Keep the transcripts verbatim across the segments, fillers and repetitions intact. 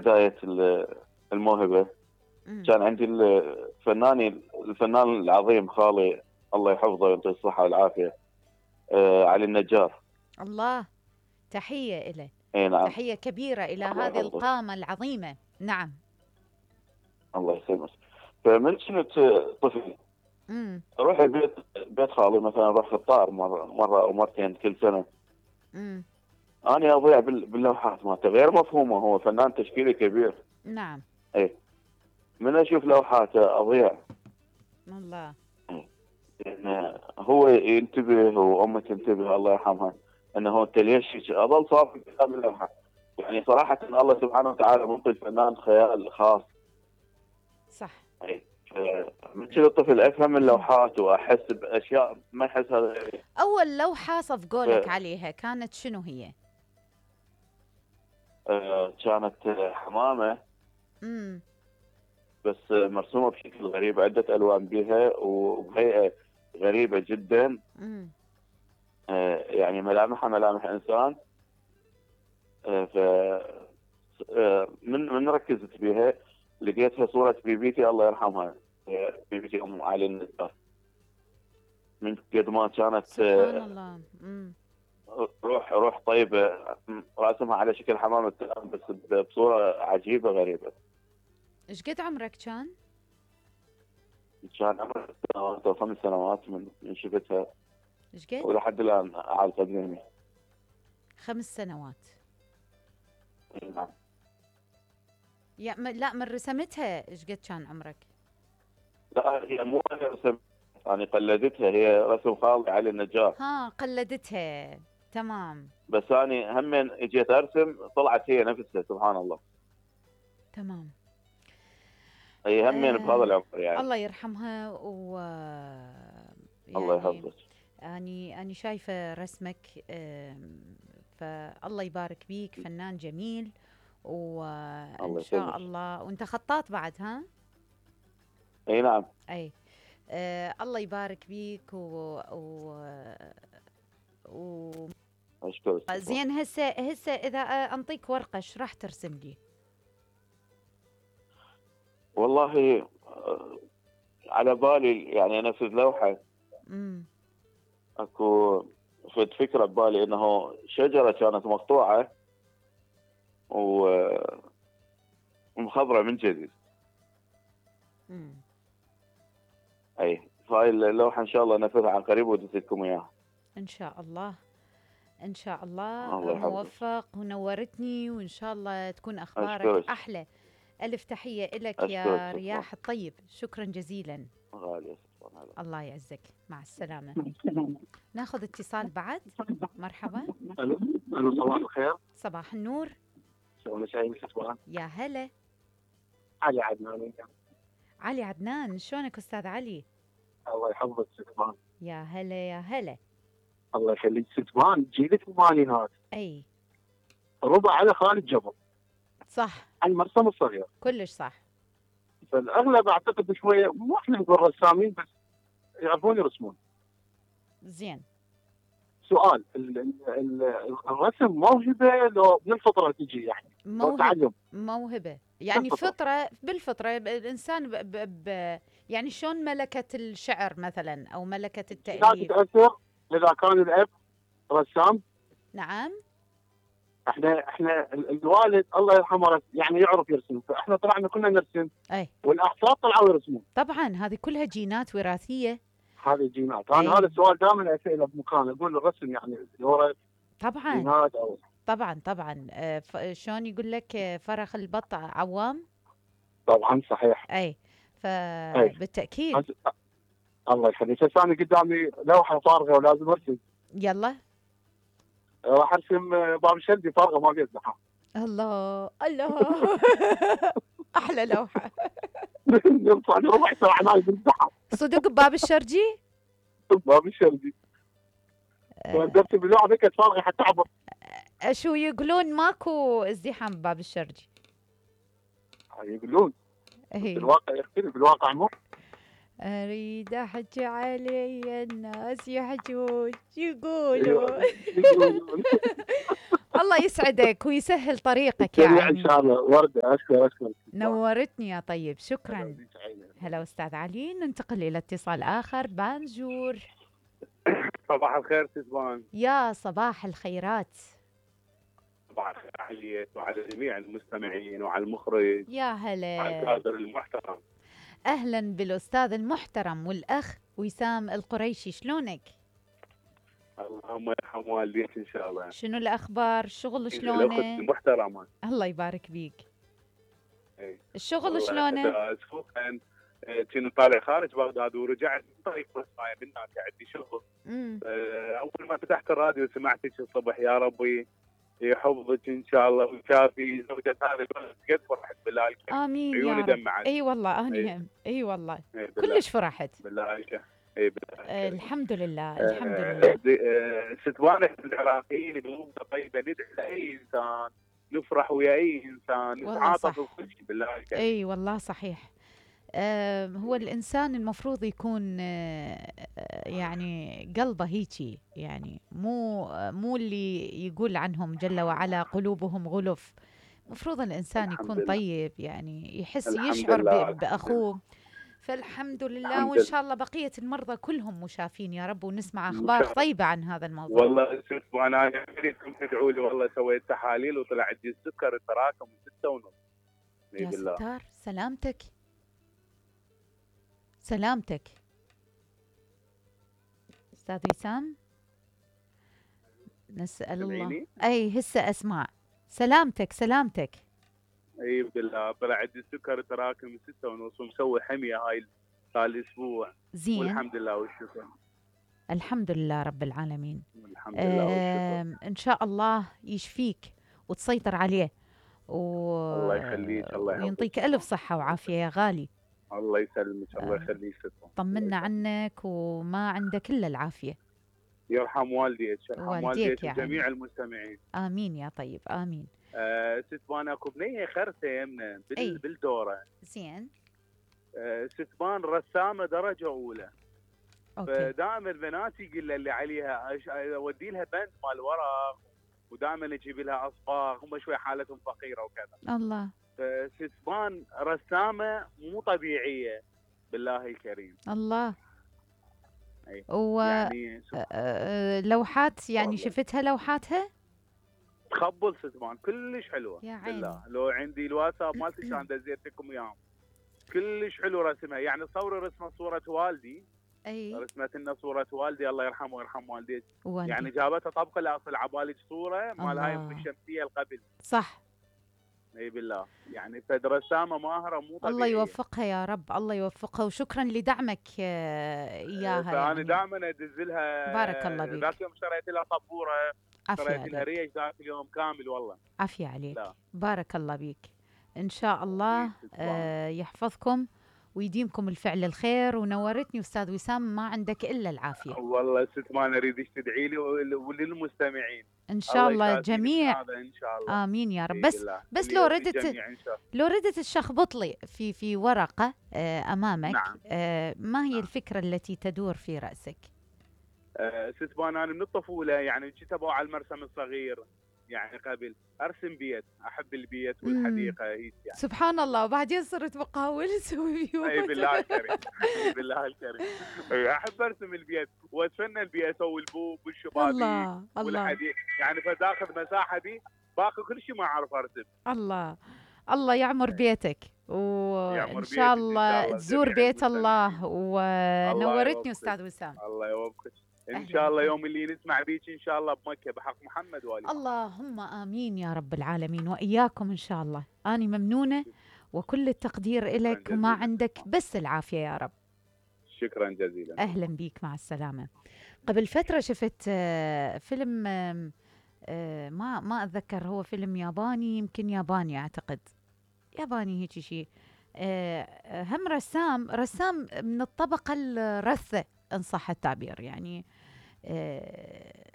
بداية ال- الموهبة مم. كان عندي الفنان الفنان العظيم خالي الله يحفظه ويعطيه الصحة والعافية، آه علي النجار. الله، تحية إله. اي نعم. تحية كبيرة إلى الله هذه يحفظه. القامة العظيمة. نعم. الله يسلمك. فمن كنت طفل امم اروح البيت بيت خالي مثلا، اروح خطار مرة مرة او مرتين كل سنة. امم انا اضيع بال- باللوحات مالته غير مفهومة، هو فنان تشكيلي كبير. نعم. اي من اشوف لوحاته اضيع. الله. إن هو ينتبه وامه تنتبه الله يرحمها، انه انت ليش هيك؟ اظل صافي قدام اللوحه. يعني صراحه الله سبحانه وتعالى منطي الفنان خيال خاص. صح. اي من كذا الطفل افهم اللوحات واحس باشياء ما يحسها غيري. أول لوحة صفقوا ف- لك عليها كانت شنو هي؟ آه، كانت حمامه امم بس مرسومه بشكل غريب، عده الوان بها وبهيئه غريبه جدا. امم آه، يعني ملامحها ملامح انسان. آه، ف آه، من من ركزت بها لقيتها صورة بيبيتي الله يرحمها، آه، بيبيتي أم علي النجار. من قد ما كانت سبحان آه، الله. امم روح روح طيبة، راسمها على شكل حمامة السلام بس بصورة عجيبة غريبة. ايش قد عمرك كان؟ كان عمري ست سنوات أو خمس سنوات من من شفتها، ايش قد؟ ولحد الآن على قدمي. خمس سنوات. نعم. يا م... لا، من رسمتها ايش قد كان عمرك؟ لا هي مو أنا رسم، يعني قلدتها، هي رسم خالي علي النجار. ها، قلدتها. تمام. بس أنا هم اجيت أرسم طلعت هي نفسها سبحان الله. تمام. هي همين بهذا آه العمر يعني. الله يرحمها. و الله يعني يحفظك. أني أني شايفة رسمك. آم، فالله يبارك بيك، فنان جميل. وإن الله شاء يسلمك. الله. وأنت خطاط بعد، ها؟ اي نعم. أي. آه الله يبارك بيك. و, و... و... اشكرك. زين. هسه هسه إذا أنطيك ورقة ايش راح ترسم لي؟ والله آه، على بالي يعني انفذ لوحه. امم اكو فد فكره ببالي انه شجره كانت مقطوعه و- ومخضره من جديد. امم اي فهاي اللوحه ان شاء الله انفذها عن قريب وديت لكم اياها. إن شاء الله. إن شاء الله الله يحفظك. موفق ونورتني، وإن شاء الله تكون أخبارك اشكرك. أحلى. ألف تحية إلك اشكرك يا شكرا. رياح الطيب. شكرا جزيلا. غاليه شكرا. الله يعزك. مع السلامة. ناخذ اتصال بعد. مرحبا. الو الو صباح الخير. صباح النور. شلون شايف شكرا. يا هلا. علي عدنان. علي عدنان، شلونك أستاذ علي؟ الله يحفظك ستمان. يا هلا يا هلا. الله يخليك ستمان، جيلة الثمانينات، أي ربع على خالد جبر صح، عن المرسم الصغير. كلش صح. فالاغلب اعتقد شويه مو احنا نقول رسامين بس يعرفون يرسمون. زين. سؤال، ال ال ال الرسم موهبه لو من الفطره تجي يعني؟ لو موهبة. تعلم؟ موهبة يعني بالفطرة. فطرة. بالفطرة ب- الإنسان ب ب ب يعني شلون ملكة الشعر مثلا أو ملكة لا التأليف. تتاثر اذا كان الاب رسام. نعم. احنا احنا ال- الوالد الله يرحمه رس- يعني يعرف يرسم، فاحنا طلعنا كنا نرسم أي والاحفاد طلعوا يرسمون. طبعا هذه كلها جينات وراثية. هذه الجينات. انا أي. هذا السؤال دائما اساله بمكان، اقول الرسم يعني يورث طبعا جينات او طبعا طبعا. آه، ف- شلون يقول لك آه، فرخ البط عوام. طبعا صحيح. أي اي فبالتأكيد. أس- الله يخليك. هسه انا قدامي لوحه فارغه ولازم ارسم. يلا. راح ارسم باب الشلبي فارغه ما فيها ازدحام. الله الله. أحلى لوحة. يرفع لي ربع ساعه ما بالازدحام. صدق بباب الشرجي. باب الشلبي. ارسم بلوحه ذيك فارغه حتى اعبر. آه، شو يقولون ماكو ازدحام بباب الشرجي. يقولون إيه. بالواقع يختلف، بالواقع مو. أريد أحكي علي الناس يحجون يقولون. الله يسعدك ويسهل طريقك يا سريع ان عيني. شاء الله. ورده اشكر اشكر. نورتني يا طيب، شكرا. هلا أستاذ علي. ننتقل إلى اتصال آخر. بانجور. صباح الخير سيزبان. يا صباح الخيرات. صباح الخير عليك وعلى جميع المستمعين وعلى المخرج يا وعلى هلا. الكادر المحترم. أهلا بالأستاذ المحترم والأخ وسام القريشي، شلونك؟ اللهم يرحم والديك ان شاء الله. شنو الأخبار؟ الشغل الأخت شلونه؟ المحترمة. الله يبارك بيك. إيه. الشغل والله شلونه؟ اسبوعا كنت طالع خارج بغداد ورجعت من طريق مصايا من هناك عندي شغل. امم آه، اول ما فتحت الراديو سمعتك الصبح. يا ربي يحفظك ان شاء الله ويكافي زوجة هذا البلد. قد فرحت بالله الكريم. آمين يا عيوني رب. دمعت. اي والله انا إيه. هم. اي والله إيه بالله. كلش فرحت. بالله الكريم. اي بالله آه الكريم. الحمد لله آه، الحمد لله. آه، ستوانة العراقيين قلوبنا طيبة. ندعي لأي إنسان، نفرح ويا أي إنسان، والله نتعاطف صح. وكل شيء بالله الكريم. اي والله صحيح. آه هو الانسان المفروض يكون آه آه، يعني قلبه هيجي، يعني مو آه، مو اللي يقول عنهم جل وعلا قلوبهم غلف. مفروض الانسان الحمد يكون لله. طيب، يعني يحس الحمد يشعر لله، ب- الحمد باخوه. فالحمد لله، الحمد وان لله. شاء الله بقيه المرضى كلهم مشافين يا رب، ونسمع إن اخبار شاء الله. طيبه عن هذا الموضوع. والله شوفوا أنا أريدكم تدعوا لي. والله سويت تحاليل وطلع عندي السكر تراكم ستة ونص. إي يا بالله. ستار، سلامتك سلامتك استاذ وسام. نسال الله. سمعيني؟ اي هسه اسمع. سلامتك سلامتك. اي بالله طلع عندي السكر تراكم ستة ونص ومسوي حمية هاي هاي الأسبوع. زين. والحمد لله والشكر. الحمد لله رب العالمين. والحمد لله والشكر. آم، ان شاء الله يشفيك وتسيطر عليه و... الله يخليك. الله يحفظك. ويعطيك الف صحه وعافيه يا غالي. الله يسلمك. الله آه. يخليك ستوان. طمنا عنك وما عندك الا العافيه. يرحم والديك. يرحم والديك والديك يا وجميع عيني. المستمعين. امين يا طيب امين. آه ستبان اكو بنيه خرته يمنا بال... أي. بالدوره. زين. آه ستبان رسامه درجه اولى. اوكي. فدائما بناتي يقول اللي عليها أش... اودي لها بند مال ورق ودائما اجيب لها اصباغ. هم شوي حالتهم فقيره وكذا. الله فستبان رسامه مو طبيعيه بالله الكريم. الله. أي. و يعني آه، آه، لوحات يعني والله. شفتها لوحاتها؟ تخبل ستبان كلش حلوه. يا عيني. بالله لو عندي الواتساب مالتي كان دزيتكم اياهم. كلش حلو رسمها. يعني تصوري رسمه صوره والدي. اي رسمت لنا صوره والدي الله يرحمه ويرحم والديك. والدي. يعني جابتها طبقه لاصل عبالك صوره مال هاي الله. ام الشمسيه القبل. صح. اي بالله. يعني فد رسامه ماهره مو طبيعيه. الله يوفقها يا رب، الله يوفقها، وشكرا لدعمك آه، اياها. فانا يعني دائما ادز لها. بارك الله بيك. ذاك يوم اشتريت لها طبوره. عافية اشتريت لها عليك. ريش ذاك اليوم كامل والله. عافية عليك. لا. بارك الله بيك. ان شاء الله أكيد تسلم. آه، يحفظكم ويديمكم الفعل الخير. ونورتني استاذ وسام، ما عندك الا العافية. والله ست ما اريدك تدعي لي ول- وللمستمعين. ان شاء الله يكافيني جميع. بهذا ان شاء الله. امين يا رب. إي بس بالله. بس اللي لو يرضي ردت الجميع إن شاء الله. لو ردت تشخبط لي في في ورقة آه، امامك. نعم. آه، ما هي نعم. الفكرة التي تدور في رأسك؟ آه، ست بان انا من الطفوله يعني كنت ابغى على المرسم الصغير. يعني قبل ارسم بيت. احب البيت والحديقه هيك يعني. سبحان الله. وبعدين صرت بقاول اسوي بيوت. اي بالله الكريم. اي بالله الكريم. أي احب ارسم البيت واتفنن بيه. اسوي البوب والشبابيك الله الله والحديقه. يعني فداخل مساحه دي باقي كل شيء ما اعرف ارسم. الله الله يعمر بيتك، يعمر وان بيتك إن شاء شاء الله الله تزور جميع بيت المستمعين. الله. ونورتني يوفقك. استاذ وسام. الله يوفقك. ان أهلاً شاء الله بك. يوم اللي نسمع بيك ان شاء الله بمكه بحق محمد والي. اللهم امين يا رب العالمين، واياكم ان شاء الله. اني ممنونه وكل التقدير لك، وما جزيلاً. عندك بس العافيه يا رب. شكرا جزيلا. اهلا بيك، مع السلامه. قبل فتره شفت آه، فيلم آم، آه، ما ما اتذكر، هو فيلم ياباني، يمكن ياباني اعتقد، ياباني هيك شيء. آه، هم رسام رسام من الطبقه الرثه ان صح التعبير، يعني آه،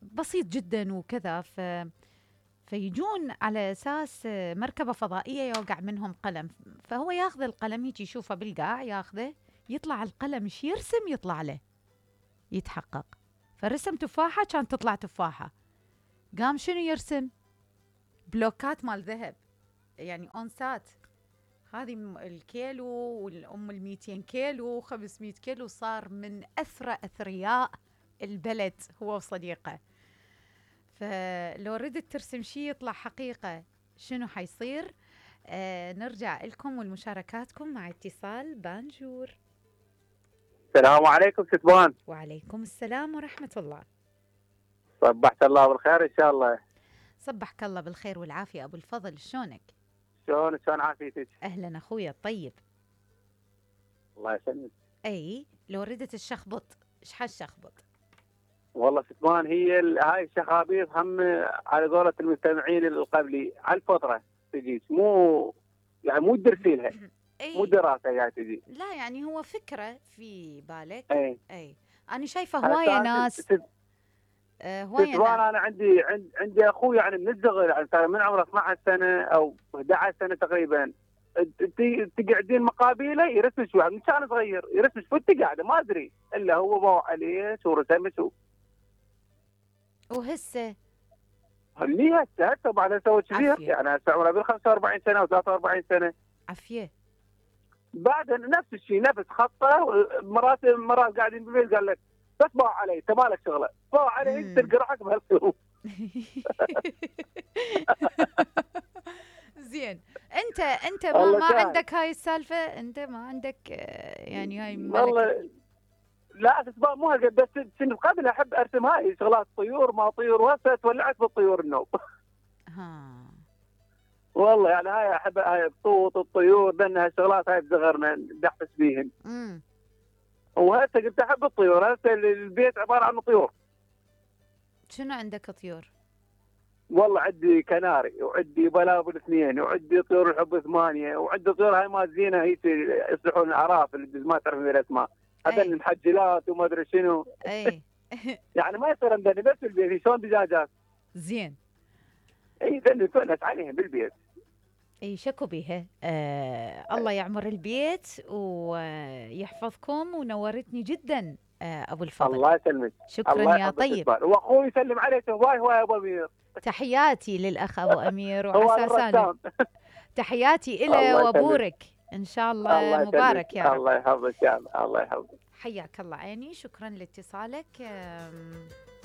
بسيط جدا وكذا. ف فيجون على اساس آه، مركبه فضائيه يوقع منهم قلم، فهو ياخذ القلم يجي يشوفه بالقاع، ياخذه يطلع القلم ايش يرسم يطلع له، يتحقق. فرسم تفاحه كانت تطلع تفاحه، قام شنو يرسم؟ بلوكات مال ذهب، يعني اونسات. هذه م- الكيلو والام ال مئتين كيلو خمسمئة كيلو، صار من اثرى اثرياء البلد هو وصديقه. فلو ردت ترسم شيء يطلع حقيقه، شنو حيصير؟ آه نرجع لكم والمشاركاتكم مع اتصال بانجور. السلام عليكم ستبان. وعليكم السلام ورحمه الله. صبحت الله بالخير ان شاء الله. صبحك الله بالخير والعافيه ابو الفضل، شلونك؟ شلون شلون عافيتك؟ اهلا اخويا الطيب. الله يسلمك. اي لو ردت الشخبط، ايش حالشخبط؟ والله ستبان هي ال- هاي الشخابيط هم على قولة المستمعين القبلي على الفطره تجيك، مو يعني مو تدرسي لها، مو اي دراسه قاعد تجي. لا يعني هو فكره في بالك. اي اي انا شايفه هوايه ناس، ست- آه هوايه ستبان ناس. انا عندي عند عندي اخوي يعني من الصغر، يعني صار من عمره اثنعش سنه او احد عشر سنه تقريبا، ت- تقعدين مقابله يرسم شوي من كان صغير، يرسم شوي انت قاعده ما ادري الا هو باوع عليه شو رسم شو. وهسه اللي هسه هسه بعد سوى كبير، عافية. يعني هسه عمره بال خمسة وأربعين سنه او ثلاثة وأربعين سنه. عافيه. بعد نفس الشيء نفس خطه، مرات مرات قاعدين بالبيت قال لك بس باوع علي انت مالك شغله، باوع علي انت مم. تلقى روحك بهالظروف. زين، انت انت ما الله ما سهل. عندك هاي السالفه، انت ما عندك آه، يعني هاي ملكة. والله لا اسباب مو هالقد، بس سنة قبل احب ارسم هاي شغلات طيور ما طيور، وهسه تولعت بالطيور النوم. ها والله يعني هاي احب هاي الطوط الطيور، لان هالشغلات هاي بصغرنا ندحس بيهن، امم وهسه قلت احب الطيور، هسه البيت عباره عن طيور. شنو عندك طيور؟ والله عندي كناري وعندي بلابل اثنين وعندي طيور الحب ثمانيه، وعندي طيور هاي ما زينه هي يصلحون الاعراف اللي ما تعرف من الاسماء، هذول أي. المحجلات وما ادري شنو. اي يعني ما يصير عندنا بس بالبيت شلون دجاجات. زين. اي ذن نتونس عليهم بالبيت. اي شكو بيها. آه الله يعمر البيت ويحفظكم، ونورتني جدا آه ابو الفضل. الله يسلمك. شكرا الله يا يحفظك طيب. إسماعيل. واخوي يسلم عليك هواي هواي يا ابو امير. تحياتي للاخ ابو امير هو وعسى سالم. الرسام. تحياتي الله له يسلمك. وابورك ان شاء الله, الله يسلمك. مبارك يا رب. الله يحفظك يا الله يحفظك. حياك الله عيني، شكرا لاتصالك. آم،